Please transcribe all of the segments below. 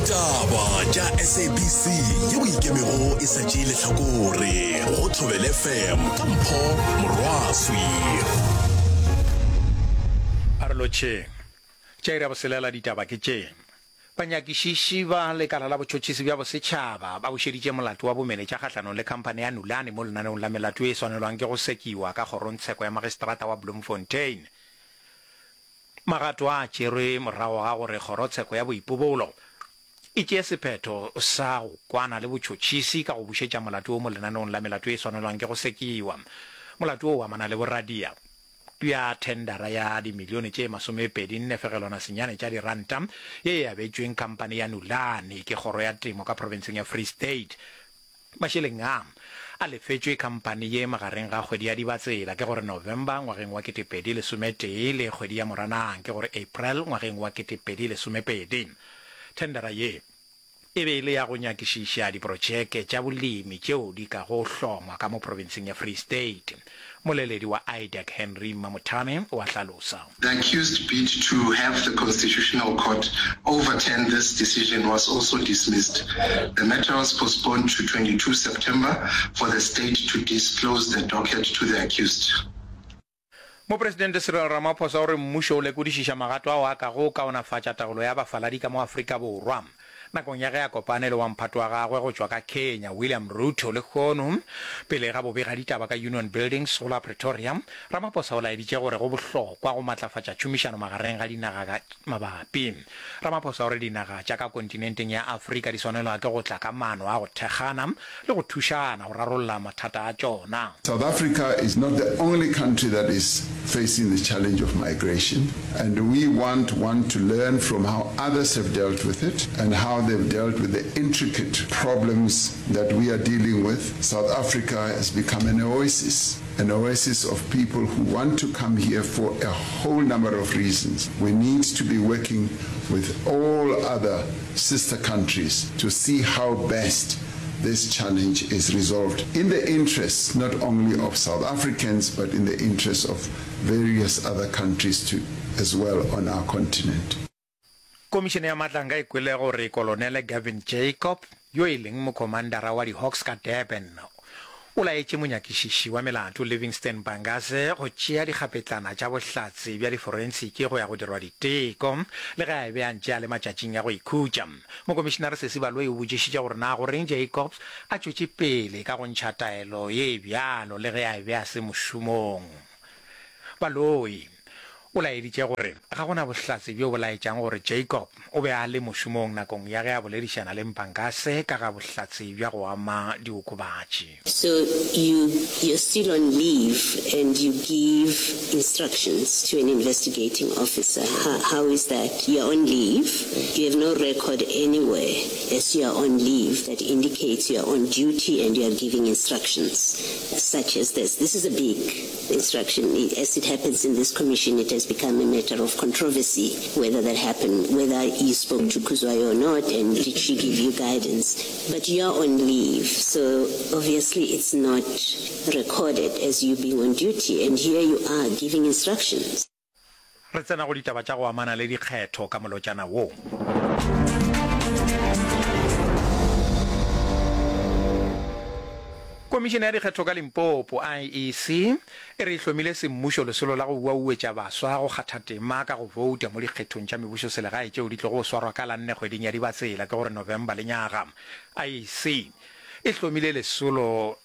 Ditaba tša SABC yeo e ikemego e sa tšee lehlakore go Thobela FM ka Mpho Morwaswi. A re lotšheng. Tša iri ya boselela ditaba ke tše. Banyakišiši ba lekala la botšhotšhisi bja bosetšhaba ba bušeditše molato wa bomenetša kgahlanong le khamphane ya Nulane mo lenaneong la melato ye e swanelwang ke go sekiwa ka kgorongtsheko ya magistrata wa Bloemfontein. Magato a a tšerwe morago ga gore kgorotsheko ya boipobolo e tšee sephetho sa go kwana le botšhotšhisi ka go bušetša molato wo mo lenaneong la melato ye e swanelwang ke go sekiwa. Molato wo o amana le boradia bja thendara ya dimilione tše masomepedi nne fegelwana senyane tša diranta ye e abetšweng khamphane ya Nulane ke kgoro ya temo ka profenseng ya Free State. Mašeleng a, a lefetšwe khamphani ye magareng ga kgwedi ya Dibatsela, ke gore November, ngwageng wa 2011 le kgwedi ya Moranang, ke gore April, ngwageng wa 2012. Thendara ye e be e le ya go nyakišiša diprotšeke tša bolemi tšeo di kago hlongwa ka mo profenseng ya Free State. Moleledi wa IDAC Henry Mamothame o a hlalosa. The accused bid to have the Constitutional Court overturn this decision was also dismissed. The matter was postponed to 22 September for the state to disclose the docket to the accused. Mopresidente Cyril Ramaphosa o re mmušo o lekodišiša magato ao a kago kaonafatša taolo ya bafaladi ka mo Afrika Borwa. Nakong ya ge a kopane le wa mphato wa gagwe go tšwa ka Kenya, William Ruto, lehono pele ga bobegaditaba ka Union Buildings go la Pretoria, Ramaphosa o laeditše gore go bohlokwa go matlafatša tšhomišano magareng ga dinaga mabapi. Ramaphosa o re dinaga tša ka kontinenteng ya Afrika di swanelwa ke go tla ka maano a go thekgana le go thušana go rarolla mathata a tšona. South Africa is not the only country that is facing the challenge of migration and we want one to learn from how others have dealt with it and how they've dealt with the intricate problems that we are dealing with. South Africa has become an oasis, an oasis of people who want to come here for a whole number of reasons. We need to be working with all other sister countries to see how best this challenge is resolved in the interests not only of South Africans but in the interests of various other countries too as well on our continent. Komišene ya Matlanga e kwele gore Kolonele Gavin Jacob, yo e leng mokhomandara wa di-Hawks ka Durban, o laetše monyakišiši wa melato Livingston Mpangase go tšea dikgapetlana tša bohlatse bja diforensiki go ya go dirwa diteko, le ge a be a ntše a le matšatšing a go ikhutša. Mokomišinare Sesi Baloyi o botšišitše gore na goreng Jacobs a tšwetše pele ka go ntšha taelo ye bjalo le ge a be a se mošomong. Baloyi o laeditše gore ga go na bohlatse bjo bo laetšang gore Jacob o be a le mošomong nakong ya ge a boledišana le Mpangase ka ga bohlatse bja go ama diokobatši. So you you're still on leave and you give instructions to an investigating officer how how is that you're on leave you have no record anywhere as you are on leave that indicates you are on duty and you are giving instructions such as this this is a big instruction as it happens in this commission it has become a matter of controversy whether that happened whether you spoke to Kuzwayo or not and did she give you guidance but you are on leave so obviously it's not recorded as you being on duty and here you are giving instructions. Re tsena go ditaba tša go amana le dikgetho ka molotšana wo. Komišene ya Dikgetho ka Limpopo, IEC, e re e hlomile semmušo lesolo la go uauetša baswa go kgatha tema ka go bouta mo dikgethong tša mebušoselegae tšeo di tlogo swarwa ka la nne kgweding ya Dibatsela, ke gore November lenyaga. IEC e hlomile lesolo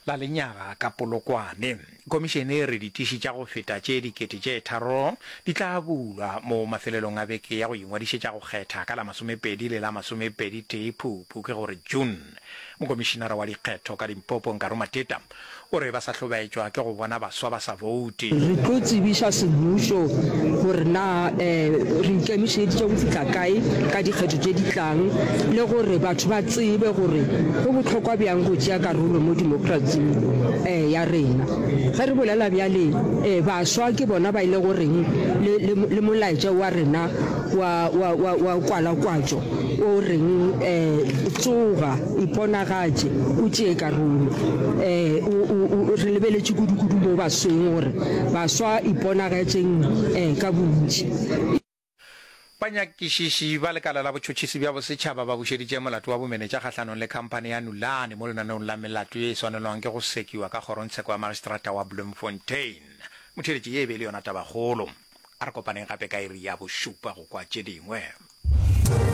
la lenyaga ka Polokwane. Komišene e re ditiši tša go feta tše 3000 di tla bulwa mo mafelelong a beke ya go ingwadišetša go kgetha ka la masomepedi le la masomepeditee Phuphu, ke gore June. Mokomišinara wa dikgetho ka Limpopo, Nkaro Mateta, o re ba sa hlobaetšwa ke go bona baswa ba sa boute. Re tlo tsebiša semmušo gore na re ikemišeditše go fihla kae ka dikgetho tše di tlang le gore batho ba tsebe gore go bohlokwa bjang go tšea karolo mo demokratsing ya rena. Ge re bolela bjale, baswa ke bona ba e le goreng le molaetša wa rena wa kwalakwatšo o reng, Tsoga, iponagatše, o tšee karolo. Re lebeletše kudukudu mo basweng gore baswa iponagatšeng ka bontši. Banyakišiši ba lekala la botšhotšhisi bja bosetšhaba ba bušeditše molato wa bomenetša kgahlanong le khamphani ya Nulane mo lenaneong la melato ye e swanelwang ke go sekiwa ka kgorongtsheko ya magistrata wa Bloemfontein. Motheeletši, ye e be e le yona tabakgolo. A re kopaneng gape ka iri ya bošupa go kwa tše dingwe.